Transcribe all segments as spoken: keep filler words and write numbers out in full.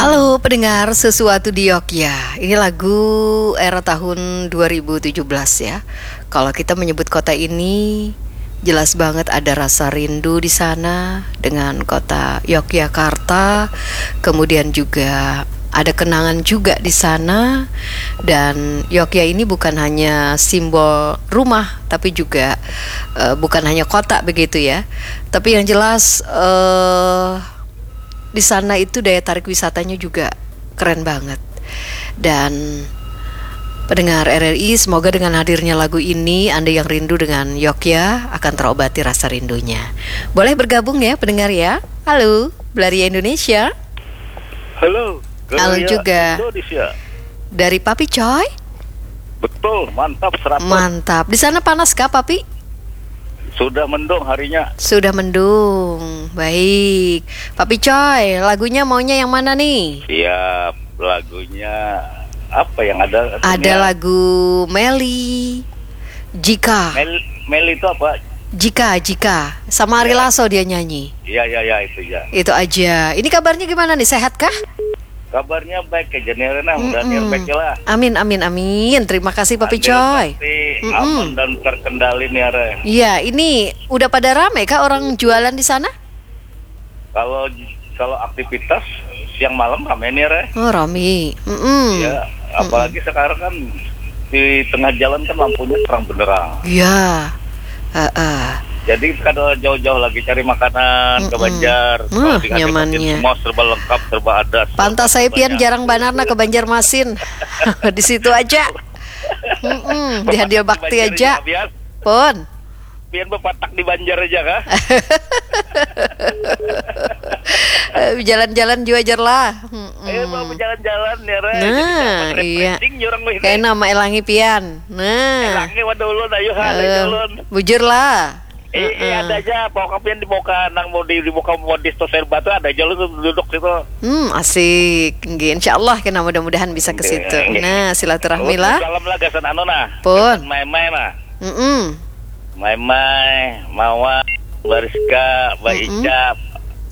Halo pendengar Sesuatu di Yogya. Ini lagu era tahun dua ribu tujuh belas ya. Kalau kita menyebut kota ini, jelas banget ada rasa rindu di sana dengan kota Yogyakarta. Kemudian juga ada kenangan juga di sana. Dan Yogya ini bukan hanya simbol rumah, tapi juga, eh, bukan hanya kota begitu ya. Tapi yang jelas, eh, di sana itu daya tarik wisatanya juga keren banget. Dan pendengar R R I, semoga dengan hadirnya lagu ini, Anda yang rindu dengan Yogya akan terobati rasa rindunya. Boleh bergabung ya pendengar ya. Halo, Belaria Indonesia. Halo, Halo Gloria juga. Indonesia. Dari Papi Coy. Betul, mantap seratus. Mantap. Di sana panas kah, Papi? Sudah mendung harinya. Sudah mendung. Baik. Papi Coy, lagunya maunya yang mana nih? Siap, lagunya apa yang ada? Ada lagu Meli. Jika. Mel, Mel itu apa? Jika, jika. Sama Ari Lasso dia nyanyi. Iya, iya, iya, itu ya. Itu aja. Ini kabarnya gimana nih? Sehat kah? Kabarnya baik aja nih, Rena. Mudah-mudahan Mm-mm. baik lah. Amin, amin, amin. Terima kasih Papi Andil Coy. Pasti Mm-mm. aman dan terkendali nih, Re. Iya, ini udah pada rame kah orang jualan di sana? Kalau kalau aktivitas siang malam rame nih, Re. Oh, rame. Mm-mm. Ya, apalagi sekarang kan di tengah jalan kan lampunya terang benderang. Iya. Heeh. Jadi kada jauh-jauh lagi cari makanan ke Mm-mm. Banjar. Wah, Kalau di K T P nyamannya. Semua serba lengkap, serba ada. Serba Pantas saya pian banyak. Jarang banar nah ke Banjarmasin. Di situ aja. Mm-mm. Di Handil Bakti Banjar aja. Bias. Pun. Pian bepatak di Banjar aja kah? Eh, jalan-jalan jua jer lah. Mm-mm. Eh, mau jalan-jalan ya, Re. Nah, iya. Kayak nama elangi pian. Nah. Elangi wadah ulun, ayo, ha, Eh, ulun. Bujur lah. Eh, eh, ada aja, pokoknya pian di muka nang mau di, di muka modis tuh serba tuh ada aja lu tuh duduk situ. Hmm, asik. Nggih, insya Allah kena mudah-mudahan bisa ke situ. Nggih. Nah, silaturahmi lah. Salam lah gasan anu nah. Pun. Gasan Mai-mai nah. Mm-mm. Mai-mai, Mawa, Bariska, Mbak Mm-mm. Ica.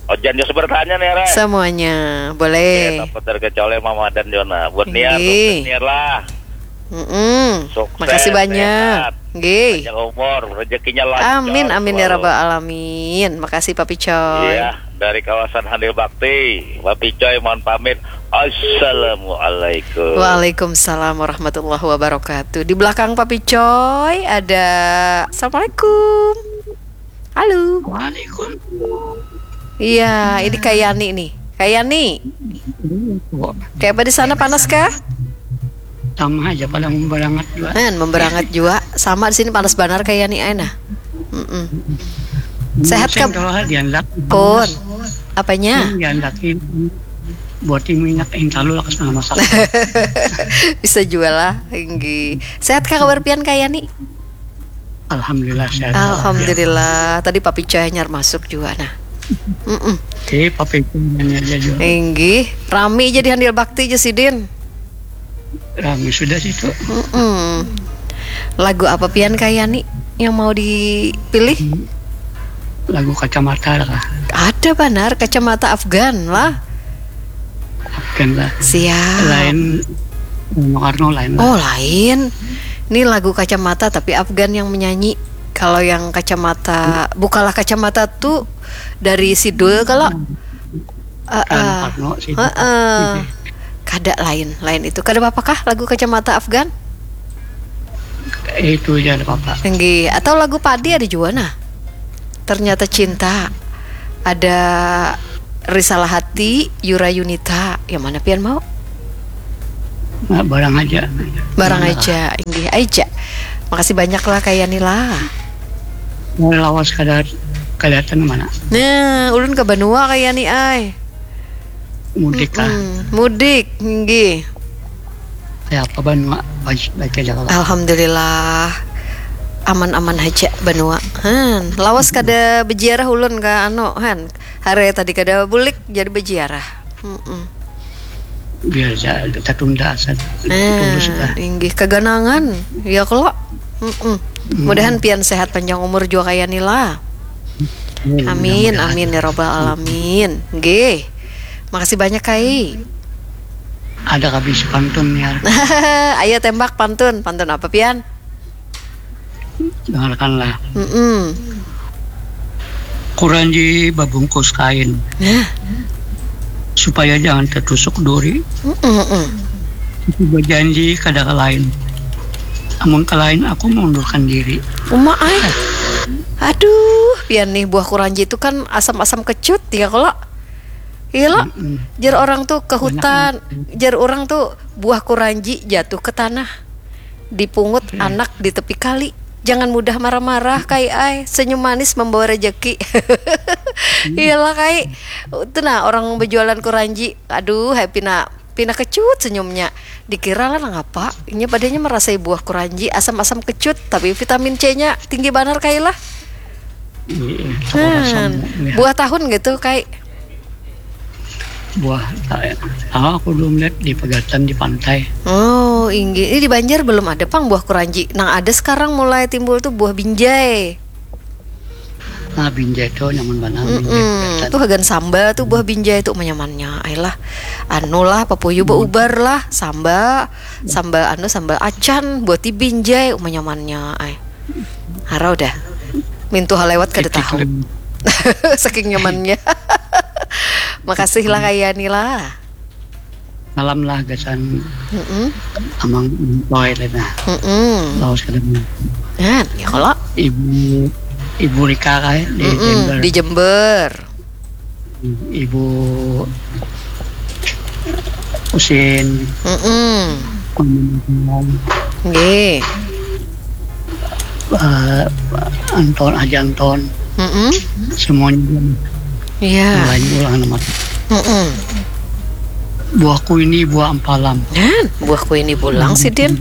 Ojan Yos bertanya nih, Re. Semuanya Oke, boleh. Tanpa terkecuali Mama dan Jona. Buat Niar, Nggih. Niar lah. Mm-mm. Sukses, Makasih banyak. Sehat. Nggih. Panjang umur, rezekinya lancar. Amin, amin ya Selalu. Rabbal Alamin. Makasih Papi Coy. Iya, dari kawasan Handil Bakti. Papi Coy mohon pamit. Assalamualaikum. Waalaikumsalam warahmatullahi wabarakatuh. Di belakang Papi Coy ada Assalamualaikum. Halo. Waalaikumsalam. Iya, ini Kak Yani nih. Kak Yani, kayak apa di sana, panas kah? Sama aja pada memberangat juga. Nah, memberangat juga. Sama di sini panas banar Kak Yani, ai nah. Mm-mm. Sehat, Kak? Kalau diandak. Pun. Apanya? Diandakin buat minyak intalu lah, kasih masak. Bisa juga lah, inggih. Sehat kah kabar pian Kak Yani? Alhamdulillah sehat. Alhamdulillah. Tadi Papi Coy hanyar masuk juga nah. Mm-mm. Oke, Papi Coy aja juga. Inggih, rami jadi Handil Bakti aja sidin. Rami sudah situ. Mm-mm. Lagu apa pian Kak Yani yang mau dipilih? Lagu Kacamata lah kah? Ada banar, Kacamata Afgan lah. Afgan lah. Siap. Lain Bung Karno lain lah. Oh, lain. Ini lagu Kacamata tapi Afgan yang menyanyi. Kalau yang Kacamata, bukalah kacamata tuh dari Sidul kalau. Kan Heeh. Karno sih. Heeh. Kada lain, lain itu. Kada apa-apa kah lagu Kacamata Afgan? Itu aja ada apa-apa. Inggih, atau lagu Padi ada juga nah. Ternyata Cinta. Ada Risalah Hati, Yura Yunita. Yang mana pian mau? Nah, barang aja. Barang Mana aja, inggih aja. Makasih banyak lah Kak Yani lah. Mau lawas kada kelihatan mana? Nah, ulun ke Banua Kak Yani ai. Mudik lah. Mm-mm. Mudik, inggih. Ya apa Banua baik baik aja lah. Alhamdulillah. Aman-aman aja Banua. Han, lawas kada beziarah ulun ka anu, han. Hari tadi kada bulik jadi beziarah. Mm-mm. Biar aja kita tunda saja. Nah, Tulus lah. Inggih kaganangan. Ya kalo. Mm-mm. Mudahan pian sehat panjang umur juga Kak Yani lah. Amin, amin ya robbal alamin. Nggih. Makasih banyak Kai. Ada kabisi pantun ya. Ayo tembak pantun. Pantun apa pian? Dengarkanlah. Mm-mm. Kuranji babungkus kain Nah, supaya jangan tertusuk duri. mm-mm. Aku berjanji kada ke lain. Amun ke lain aku mengundurkan diri. Uma ai. Aduh, pian nih buah kuranji itu kan asam-asam kecut ya kalau. Iya lo. Mm-mm. Jar orang tuh ke hutan. Jar orang tuh buah kuranji jatuh ke tanah. Dipungut anak di tepi kali. Jangan mudah marah-marah kai ai. Senyum manis membawa rejeki. Iyalah kai. Itu nah orang berjualan kuranji. Aduh, happy nak pina kecut senyumnya. Dikira lah nang apa? Inya padanya merasai buah kuranji asam-asam kecut, tapi vitamin C-nya tinggi banar kai lah. Iya, aku rasa Hmm, mau, ya. Buah tahun gitu kai. Buah, ah, aku belum lihat di pegatan di pantai. Oh, inggih. Ini di Banjar belum ada pang buah kuranji. Nang ada sekarang mulai timbul tuh buah binjai. Nah, binjai tuh nyaman banget. Mm-mm. Tuh hagan samba tuh buah binjai tuh menyamannya. Ayolah. Anu lah, papuyu beubar lah, samba, samba anu sambal acan buat di binjai menyamannya. Ay. Harau dah. Mintuha lewat kada tahu. Saking nyamannya. Makasih lah kaya ni lah. Malam lah gasan Mm-mm. amang Toy lah nah. Mm-mm. Lawas kada mau. Nah, ya kalau Ibu Ibu Rika kayak di Mm-mm, Jember. Di Jember. Ibu Usin, Mm-mm. Mama Mama, Nggih. eh, Anton, Haji Anton, Mm-mm. Semuanya. Iya. Lain ulang nama. Mm-mm. Buahku ini buah empalam. Dan buahku ini pulang sidin.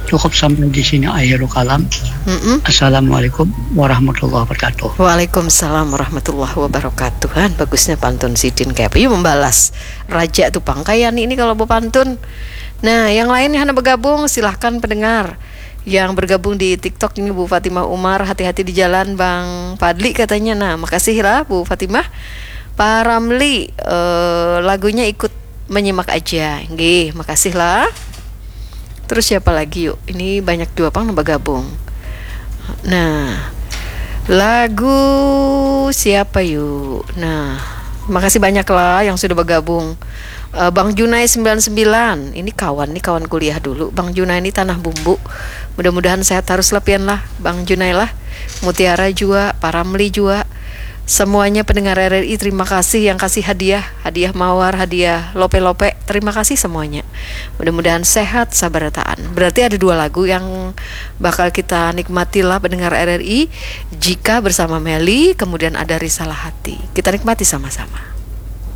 Cukup sampai di sini akhirul kalam. Mm-mm. Assalamualaikum warahmatullahi wabarakatuh. Waalaikumsalam warahmatullahi wabarakatuh. Han, bagusnya pantun sidin kayak apa? Yuk membalas raja tuh pang kayak ini kalau berpantun. Nah, yang lain yang hana bergabung silahkan pendengar. Yang bergabung di TikTok ini Bu Fatimah Umar, hati-hati di jalan Bang Fadli katanya. Nah, makasih lah Bu Fatimah. Pak Ramli, eh, lagunya ikut menyimak aja. Nggih, makasih lah. Terus siapa lagi yuk? Ini banyak juga pang nambah gabung. Nah, lagu siapa yuk? Nah, makasih banyak lah yang sudah bergabung. Eh, Bang Junai sembilan sembilan. Ini kawan nih, kawan kuliah dulu. Bang Junai ini tanah bumbu. Mudah-mudahan sehat terus lah pian lah, Bang Junai lah. Mutiara juga, Pak Ramli juga. Semuanya pendengar R R I, terima kasih yang kasih hadiah, hadiah mawar, hadiah lope-lope. Terima kasih semuanya. Mudah-mudahan sehat sabarataan. Berarti ada dua lagu yang bakal kita nikmati lah pendengar R R I jika bersama Meli, kemudian ada Risalah Hati. Kita nikmati sama-sama.